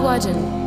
Mhaidin.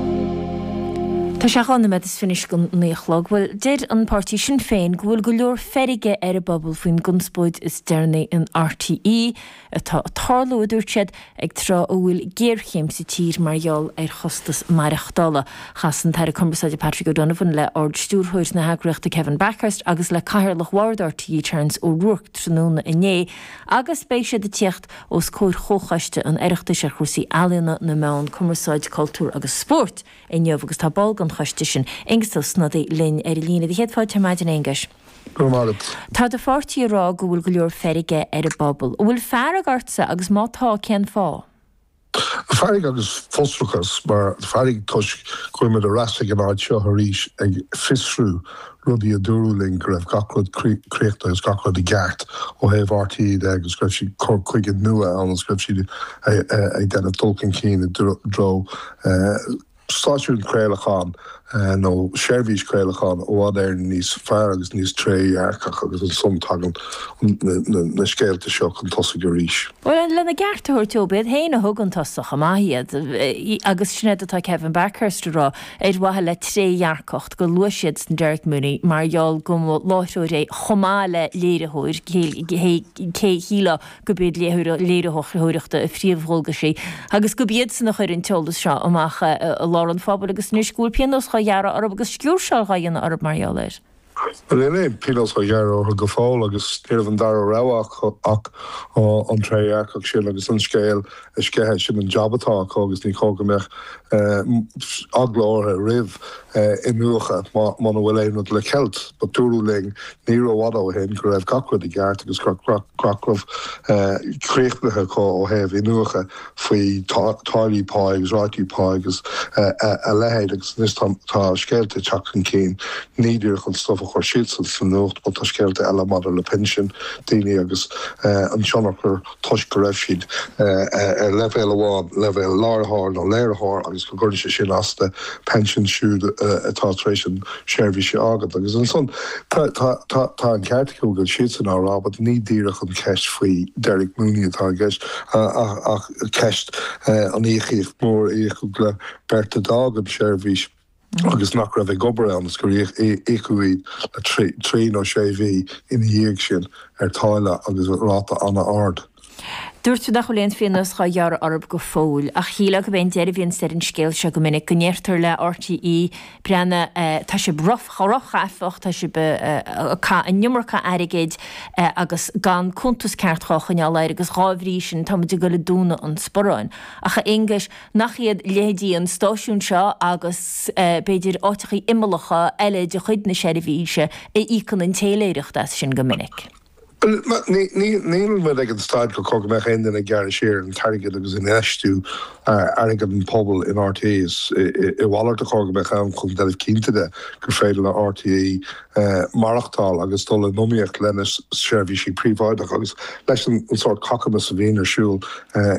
Tá sé 2 nóiméad is fiche don 9 a chlog. Bhuel, deir an páirtí Sinn Féin go bhfuil go leor feirge ar an bpobal faoin gconspóid is deireanaí in RTÉ atá ag tarlú, a dúirt siad, ag tráth a bhfuil géarchéim sa tír mar gheall ar chostas maireachtála. Chas an tAire Cumarsáide Patrick O'Donovan le Ard-Stiúrthóir na heagraíochta Kevin Bakhurst agus le Cathaoirleach Bhord RTÉ Terence O'Rourke tráthnóna inné agus beidh siad ag tíocht os comhair Chomhchoiste an Oireachtais ar chúrsaí ealaíona, na meán, cumarsáid, cultúr agus spóirt inniu agus tá ball den choiste sin, Aengus Ó Snodaigh, linn ar an líne. Do chéad fáilte ar maidin, a Aonghuis. Go raibh maith agat. Tá do pháirtí ag rá go bhfuil go leor feirge ar an bpobal. An bhfuil fearg ortsa agus má tá, cén fáth? Fearg agus frustrachas, mar fearg toisc go bhfuil muid ar ais ag an áit seo arís ag fiosrú rudaí a dúradh linn go raibh gach rud críochnaithe agus gach rud i gceart ó thaobh RTÉ de agus go raibh siad cur chuige nua ann agus go raibh siad ag déanamh dul chun cinn i dtreo stáisiún craolacháin nó seirbhís craolacháin i bhfad Éireann níos fearr agus níos trédhearcach agus ansan tagann na scéalta seo chun tosaigh arís. Bhuel, lena gceart a thabhairt dóibh, b'iad féin a thug chun tosaigh chomh maith iad agus sin é atá Kevin Bakhurst a rá, ar mhaithe le trédhearcacht, gur luaigh siadsan Derek Mooney mar gheall go mba láithreoir é chomh maith le léiritheoir, cé shílfeá gurb iad léiritheoireachta a phríomhdhualgaisí agus gurb iadsan a chuir an t-eolas seo amach i lár an phobail agus anois go bhfuil pionós dhá ghearradh orthu agus sciúrsáil dhá dhéanamh orthu mar gheall air. Bhuel, níl aon phionós á ghearradh orthu go fóill agus ní raibh an dara rogha acu ach an trédhearcacht sin agus an scéal a sceitheadh. Sin an jab atá acu agus ní chóir go mbeadh eagla orthu roimh iniúchadh muna bhfuil aon rud le ceilt. But dúradh linn ní rófhada ó shin go raibh gach rud i gceart agus go raibh gach rud críochnaithe acu ó thaobh iniúchadh faoi táillí pá agus rátaí pá agus a leithéid agus anois tá scéalta ag teacht chun cinn, ní díreach an stuif a chuir siadsan sa nuacht but tá scéalta eile maidir le pinsin daoine agus an tionchar toisc go raibh siad ar leibhéal amháin, leibhéal láithreoir nó léiritheoir, agus go gcuireann sé sin as do phension siúd atá tar éis an seirbhís a fhágaint. Agus ansan tá tá an ceart acu go bhfuil siadsan á rá but ní díreach an cheist faoi Derek Mooney atá i gceist ach ceist an íocaíocht mhór a íocadh le beirt a d'fhág an seirbhís. agus nach raibh ag obair ann is gur íocadh iad le trí nó sé mhí ina dhiaidh sin ar táille agus ráta an-ard. Dúirt tú nach bhfuil aon phionós dhá ghearradh orthu go fóill, ach shílfeá gurb é an deireadh a bhíonns ar an scéal seo go minic, go ndeirtear le RTÉ, breathnaigh, tá sibh róghaifeach, tá sibh ag caitheamh an iomarca airgid agus gan cuntas ceart dhá choinneáil air agus dhá bhrí sin tá muid ag dul ag dúnadh an sparáin. Ach a Aonghuis, Nach iad leithéidí an stáisiúin seo agus b'fhéidir áiteachaí imeallacha eile de chuid na seirbhíse a íocann an téiléireacht as sin go minic? Níl muid ag an staid gur chóir go mbeadh aon duine ag gearradh siar ar an t-airgead agus infheistiú airgead an phobail in RTÉ. Is a mhalairt a chóir go mbeadh ann chun déanamh cinnte de gur féidir le RTÉ maireachtáil agus dul in iomaíocht lena seirbhísí príobháideacha agus leis an sórt cacamas a bhíonn ar siúl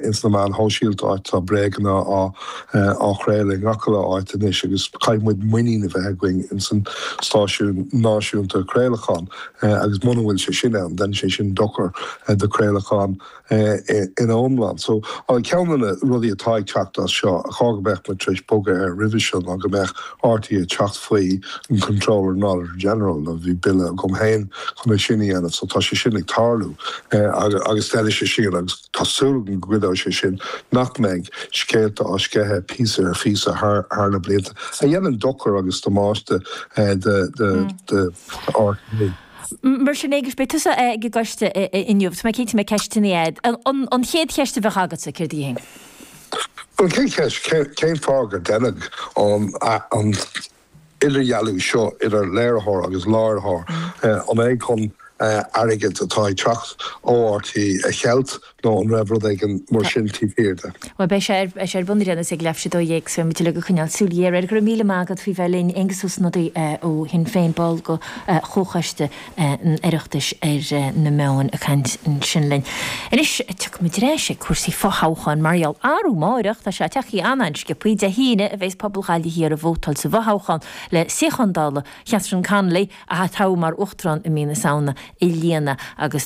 ins na meáin shóisialta áit atá bréaganna á chraoladh i ngach uile áit anois agus caithfidh muid muinín a bheith againn ins an stáisiún náisiúnta craolacháin agus muna bhfuil sé sin ann déanann sé sin dochar do chraolachán ina iomlán. So, ceann de na rudaí atá ag teacht as seo, a chóir go mbeadh muid tar éis bogadh air roimhe seo ná go mbeadh RTÉ ag teacht faoi an Comptroller and Auditor General, nó bhí bille agam féin chun é sin a dhéanamh, so tá sé sin ag tarlú agus déanfaidh sé sin agus tá súil agam go gcuideoidh sé sin nach mbeidh scéalta á sceitheadh píosa ar phíosa thar na blianta a dhéanann dochar agus damáiste do RTÉ. Mar sin, Aengus, beidh tusa ag an gcoiste inniu. Tá mé cinnte go mbeidh ceisteanna agat. An chéad cheist a bheadh agatsa, céard í féin? An chéad cheist, cén fáth gur deineadh an idirdhealú seo idir léiritheoir agus láithreoir? An é chun airgead atá ag teacht ó RTÉ a cheilt nó an raibh rud éigin mar sin taobh thiar de? Bhuel, beidh sé ar, beidh sé ar bun ar aon nós ag leathuair tar éis a 12 so beidh muid uilig ag coinneáil súil ghéar air. Go raibh míle maith agat faoi bheith linn, Aengus Ó Snodaigh ó Shinn Féin, ball de Chomhchoiste an Oireachtais ar na Meáin ag caint ansin linn. Anois, tiocfaidh muid ar ais ag cúrsaí fothoghcháin mar gheall arú amáireach, tá sé tagtha an-an-sciobthaí, Dé hAoine a bheas pobal Ghaillimh Thiar ag vótáil sa bhfothoghchán le suíochán Dála Chatherine Connolly, a toghadh mar Uachtarán i mí na Samhna, a líonadh agus tá.